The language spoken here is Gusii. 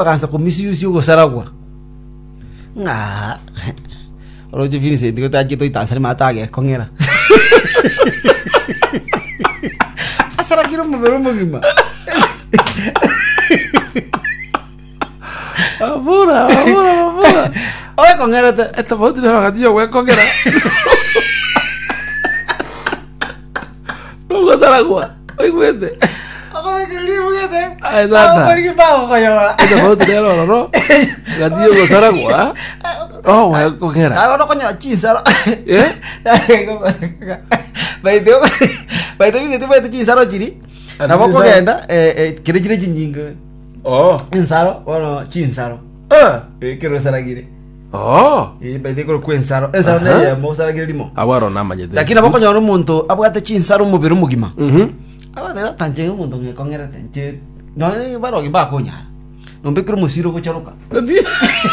Bagansa komisiusia ogosaragwa, ng'a oroche Vincent igo tachete oitansare mate agekong'era. Asarakire omobere omogima. Abura, abura, abura. Oekong'erete. Etofauti nero gati yogwekong'era. Nogosaragwa, oigwete. Okobekera ribugete. Aye, tata. Okorigi bagokoyora. Etofauti nero ororo gati yogosaragwa, ogwekong'era. Aye bono okonyora chinsaro. Eh? Baite baite bigete baite chinsaro chiri. Ati Nabo chinsaro? okogenda eh, eh, kere chire chinyinge. Oh. Ensaro bono chinsaro. Ah. Eh, kero osaragire. Oh. Eh, baite korokwa ensaro. Ensaro Aha. neyemo osaragire rimo. Abwo aro namanyete. Lakini nabo okonyora omonto abwate chinsaro omobere omogima. Mhm. Abate tata nche omonto ng'ekong'erete nche nonye barogi mbakonyara. Nombekire omosiro ogocharoka.